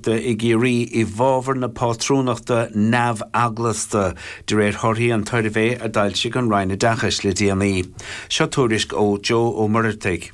I gCiarraí i bhfabhar na pátrúnachta neamh-eaglasta, de réir thorthaí an tsuirbhé a d'fhoilsigh an Roinn Oideachais le déanaí. Seo tuairisc ó Joe Ó Muircheartaigh.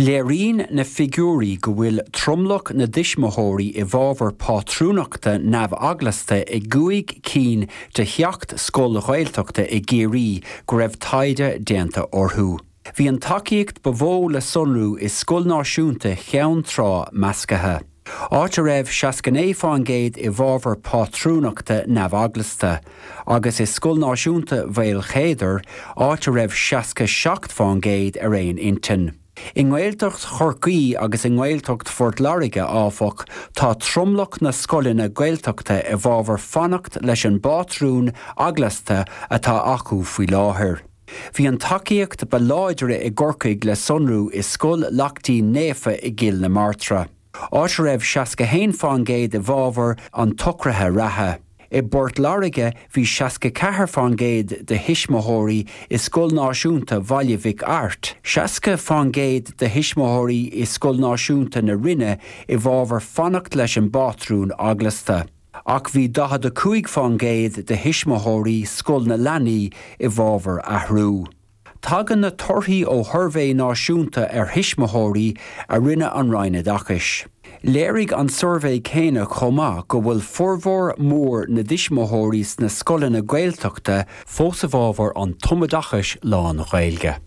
Léiríonn na figiúirí go bhfuil tromlach na dtuismitheoirí i bhfabhar pátrúnachta neamh-eaglasta i gcúig cinn de sheacht scoil Ghaeltachta i gCiarraí go raibh taighde déanta orthu. Bhí an tacaíocht ba mhó le sonrú i Scoil Náisiúnta Cheann Trá Measctha, áit a raibh 69% i bhfabhar pátrúnachta neamh-eaglasta, agus i Scoil Náisiúnta Mhaolchéadair, áit a raibh 67% ar aon intinn. I nGaeltacht Chorcaí agus i nGaeltacht Phort Láirge, áfach, tá tromlach na scoileanna Gaeltachta i bhfabhar fanacht leis an bpátrún eaglasta atá acu faoi láthair. Bhí an tacaíocht ba láidre i gCorcaigh le sonrú i Scoil Lachtaín Naofa i gCill na Martra, áit a raibh 61% i bhfabhar an tsocraithe reatha. I bPort Láirge bhí 64% de thuismitheoirí i Scoil Náisiúnta Bhaile Mhic Airt, 60% de thuismitheoirí i Scoil Náisiúnta na Rinne i bhfabhar fanacht leis an bpátrún eaglasta. Ach bhí 45% de thuismitheoirí Scoil na Leanaí i bhfabhar athrú. Tagann na torthaí ó shuirbhé náisiúnta ar thuismitheoirí a rinne an Roinn Oideachais. Léirigh an suirbhé céanna chomh maith go bhfuil formhór mór na dtuismitheoirí sna scoileanna Gaeltachta fós i bhfabhar an tumoideachais lán-Ghaeilge.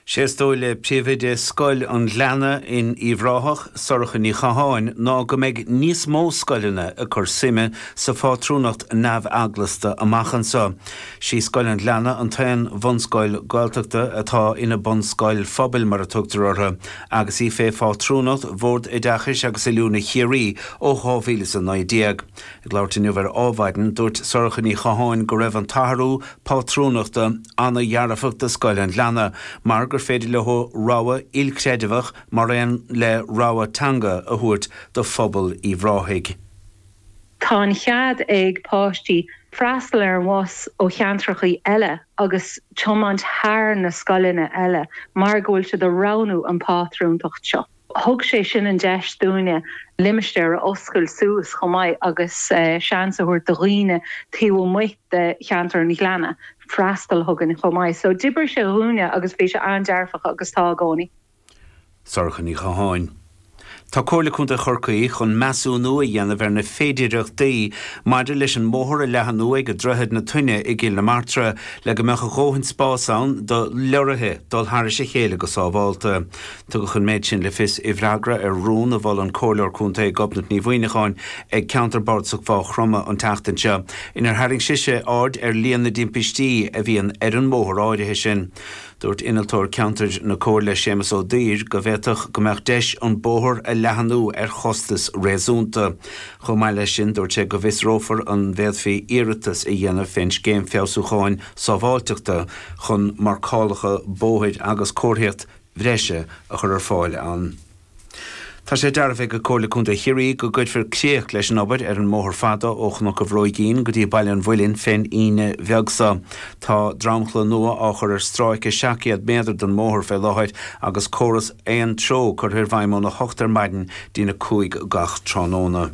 Sé is dóigh le Príomhoide Scoil an Ghleanna in Uíbh Ráthach, Sorcha Ní Chatháin, ná go mbeidh níos mó scoileanna ag cur suime sa phátrúnacht neamh-eaglasta amach anseo. Sí Scoil an Ghleanna an t-aon bhunscoil Gaeltachta atá ina bunscoil phobail mar a tugtar orthu, agus í fé phátrúnacht Bhord Oideachais agus Oiliúna Chiarraí ó 2019. Ag labhairt inniu ar Adhmhaidin, dúirt Sorcha Ní Chatháin go raibh an t-athrú pátrúnachta ana-dhearfach do Scoil an Ghleanna mar gur féidir leo rogha ilchreidmheach mar aon le rogha teanga a thabhairt do phobal Uíbh Ráthaigh. Tá an chead ag páistí freastal ar an bhus ó cheantrachaí eile agus tiomáint thar na scoileanna eile mar go bhfuil siad ag roghnú an pátrúntacht seo. Thug sé sin an deis dúinne limistéar a oscailt suas chomh maith agus seans a thabhairt do dhaoine taobh amuigh de cheantar an Ghleanna freastal chugainn chomh maith. So d'oibrigh sé dhúinne agus bhí sé an-dearfach agus tá i gcónaí. Sorcha Ní Chatháin. Tá Comhairle Contae Chorcaí chun measúnú a dhéanamh ar na féidearthachtaí maidir leis an mbóthar a leathnú ag Droichead na Toinne i gCill na Martra le go mbeadh a dhóthain spás ann do leoraithe dul thairis a chéile go sábhálta. Tugadh an méid sin le fios i bhfreagra ar rún a mhol an Comhairleoir Contae Gobnait Ní Mhuimhneacháin ag Ceantar Bardasach Mhaigh Chromtha an tseachtain seo, inar tharraing sise aird ar líon na dtimpistí a bhíonn ar an mbóthar áirithe sin. Dúirt Innealtóir Ceantair na Comhairle Séamus Ó Duibhir go bhféadfadh go mbeadh deis an bóthar a leathnú ar chostas réasúnta. Chomh maith leis sin, dúirt sé go bhfiosrófar an bhféadfaí iarratas a dhéanamh fén Scéim Feabhsúcháin Sábháilteachta chun marcálacha bóthair agus comharthaíocht bhreise a chur ar fáil ann. Tá sé dearbhaithe ag Comhairle Contae Chiarraí go gcuirfear críoch leis an obair ar an mbóthar fada ó Chnoc an Bhróigín go dtí Baile an Mhuilinn fén Aoine bheag seo. Tá dromchla nua á chur ar stráice 700 méadar den mbóthar fé láthair agus córas aon treo curtha i bhfeidhm óna hocht ar maidin dtína 5 gach tráthnóna.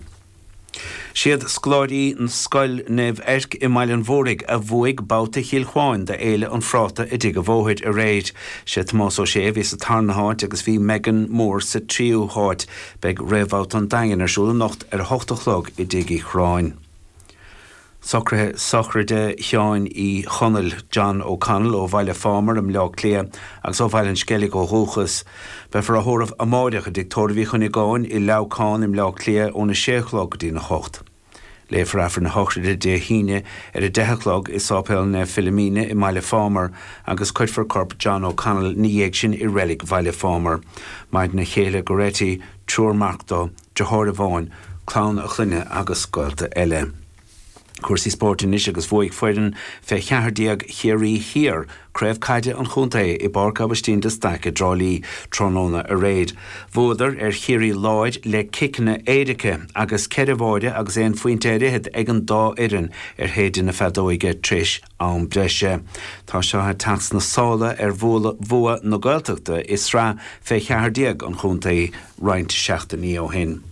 Siad scoláirí Scoil Naomh Eirc i mBaile an Mhúraigh a bhuaigh babhta Chill Chuáin d'Fhéile an Phráta i dTigh a' Bhóthair aréir. Sé Tomás Ó Sé a bhí sa tarna háit agus bhí Megan Moore sa tríú háit. Beidh réamhbhabhta an Daingin ar siúl anocht ar a hocht a chlog i dTigh Uí Chorráin. Socruithe sochraide Sheáin Uí Chonaill, John O'Connell, ó Bhaile Phámar i mBleá Cliath agus ó Bhaile an Sceilg ó dhúchas. Beifear á thórramh amáireach i dTigh Tórraimh Uí Chuinneagáin i Leamhcán i mBleá Cliath óna sé a chlog go dtína hocht. Léifear Aifreann na sochraide Dé hAoine ar a deich a chlog i Sáipéal Naomh Philomena i mBaile Phámar agus cuirfear corp John O'Connell ina dhiaidh sin i Reilig Bhaile Phámar. Maireann a chéile Goretti, triúr mac dó, deartháir amháin, clann a chlainne agus gaolta eile. Cúrsaí spóirt anois agus bhuaigh foireann fé 14 Chiarraí Thiar craobh caide an chontae i bPáirc Aibhistín de Staic i dTrá Lí tráthnóna aréir. Bhuadar ar Chiarraí Láir le ciceanna éirice agus ceithre bháire agus aon phointe ar fhichead ag an dá fhoireann ar shéideadh na feadóige tar éis am breise. Tá seo ag teacht sna sála ar bhua na Gaeltachta i sraith fé 14 an chontae roinnt seachtainí ó shin.